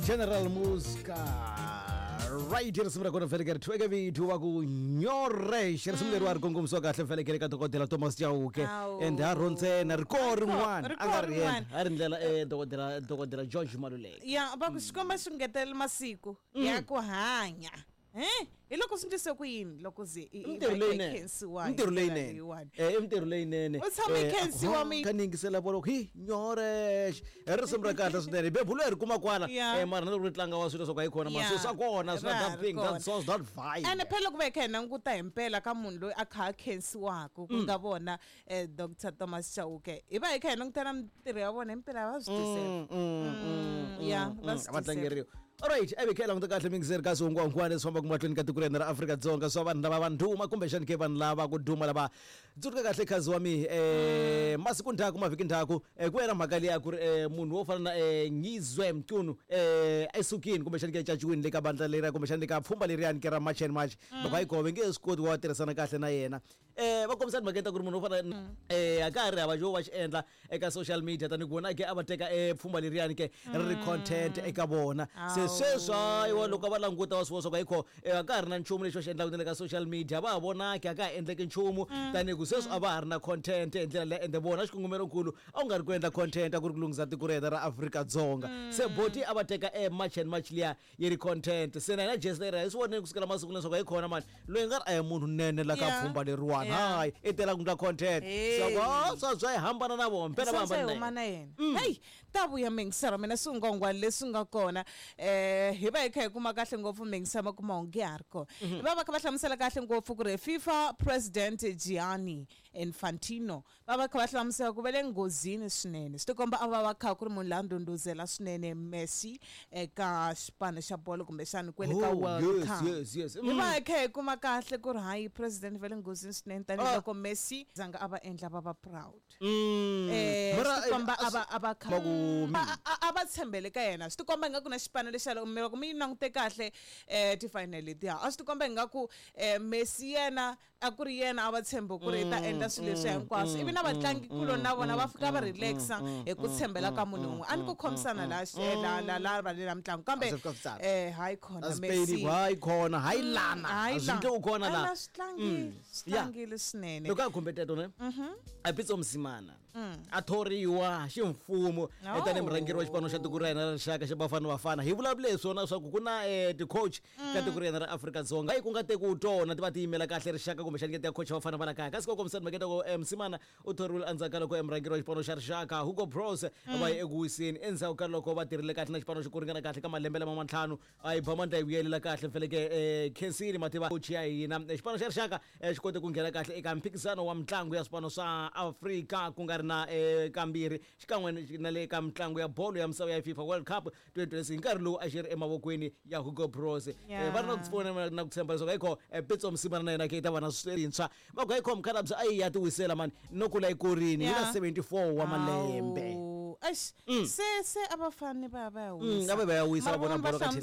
General Muska right, risimu ra kona felekere thweke vito wa ku nyorex, risimu leri wa ri kongomisiwa kahle felekere ka dokodela Thomas Chauke. Awu. And ha ro ntsena ri koho rin'wana Ri a nga koho ri yena rin'wana. a ri ndlela dokodela George Maluleke. Ya, va ku xikomba xi ngetela masiku ya ku hanya. Hi loko swi ndlise ku yini loko ze I mintirho leyinene, khensiwa hi mintirho ndlela leyinene. leyiwani? I mintirho leyinene. U tshama i khensiwa Kha ni yingisela vona ku hi nyorex i risimu ra kahle swinene, bebulu hi ri kuma kwala. Mara na loko ri tlanga wa swilo swa ku a yi kona Yeah. maso swa kona swi na Ra that ha ri thing, that kona. sauce, that vibe. Ene phela loko va hi kha hi languta hi mpela ka munhu loyi a kha a khensiwaka, ku nga vona Dr Thomas Chauke, hi va hi kha hi languta na mintirho ya vona, himpela va swi deserve. Ya, va swi A va deserve. tlangeriwa. Alright, a vi kha hi languta kahle mingiseri ka swihungwahungwana leswi fambaka mahlweni ka tiko ra hina ra Afrika-Dzonga, swa vanhu lava va ndhuma kumbexani ke vanhu lava ku duma lava tsundzuka kahle khazi wa mi masiku ndzhaku, mavhiki ndzhaku, ku ya na mhaka liya ku ri munhu wo fana na Ngizwe Mchunu esukini kumbexani ke caciwini le ka bandla leriya kumbexani le ka pfhumba leriyani ke ra March and March, loko a yi kove nge swi koti ku va tirhisana kahle na yena. Va kombisa timhaka ta ku ri munhu wo fana a ka ha ri hava xo va xi endla eka social media, tanihi ku vona ke a va teka pfhumba leriyani ke ri ri content eka vona. Se sweswi hayiwa, loko va languta va swi vona swa ku ayikho, a ka ha ri na nchumu lexi va xi endlaka na le ka social media, va ha vonaki, a ka ha endleki nchumu, tanihi ku sweswi a va ha ri na content hi ndlela leyi. Ende vona xikongomelonkulu a ku nga ri ku endla content, a ku ri ku lunghisa tiko ra hina ra Afrika-Dzonga. Se boti a va teka March and March liya yi ri content. Se na hina jesi leri hi swi vonile kusukela masiku leswaku hi khona mani loyi nga ri a hi munhu nene la ka pfhumba leriwani, hayi i tela ku endla content. Hey. So swa swa hi hambana na vona mpela va Swa hambana na huma yena. Na yena, heyi, ta vuya mingisero mina swingongwani leswi nga kona. Hi va hi kha hi kuma kahle ngopfu mingisero ma kuma onge ha ri kona. Hi va va kha va hlamusela kahle ngopfu ku ri FIFA president Gianni Infantino va va kha va hlamusela ku va le nghozini swinene. Swi tikomba a va va kha ku ri munhu la ndhundhuzela swinene Messi eka xipano xa bolo kumbexani kwele ka Oh, World Cup. Hi va hi kha hi kuma kahle ku ri hayi, president va le nghozini swinene tanihiloko Messi zanga a va endla va va proud. Mara, Swi tikomba a a va a va kha Va ku a va tshembele ka yena. Swi tikomba ingaku na xipano lexa loko mi yi langute kahle ti-final letiya, a swi tikomba ingaku Messi yena a ku ri yena a va tshembe ku ri i ta endla swilo leswi hinkwaswo, ivi na vatlangikuloni na vona va fika va relaxa hi ku tshembela ka munhu un'we. A ni ku khomisana la la la la valela mitlangu, kambe A swi fika swi tsaka. Hayi khona A Spain Messi. ku hayi khona, hayi lana Hayi a swi la. ndle u khona la. Ala, swi tlangile, swi tlangile swinene. Loko a khumbe teto ne a Pitso Mosimane a thoriwa ximfumo tanihi murhangeri wa xipano xa tiko ra hina ra rixaka xa Bafana Bafana, hi vulavule hi swona swa ku ku na ti-coach ka tiko ra hina ra Afrika-Dzonga, hayi ku nga tekiwi tona ti va ti yimela kahle rixaka kumbexani ke ti ya coach vafana va la kaya. Kasi ko kombisa timhaka ta ku Mosimane u thoriwile endzhaku ka loko murhangeri wa xipano xa rixaka Hugo Broos va ye eku wiseni, endzhaku ka loko va tirhile kahle na xipano xi ku ringana kahle ka malembe lama mantlhanu, a yi ba mandla yi vuyelela kahle mfeleke khensini mativa coach ya hina. Xipano xa rixaka xi kote ku nghena kahle eka mphikizano wa mitlangu ya swipano swa Afrika ku nga ri na kambirhi, xikan'we na le ka mitlangu ya bolo ya misava ya FIFA World Cup 2026 hi nkarhi lowu a xi ri emavokweni ya Hugo Broos. Va ri na ku pfuna na ku tshemba leswaku ayikho Pitso Mosimane na yena ke yi ta va na swintshwa. Va ku ayikho mukhalabye a yi ya ti wisela mani no kula yi kurini hi na 74 wa malembe. Awu. Eish, se a va fani va ya va ya wisa. A va ya wisa, Mara va vona van'wana va bolo ka hlamusela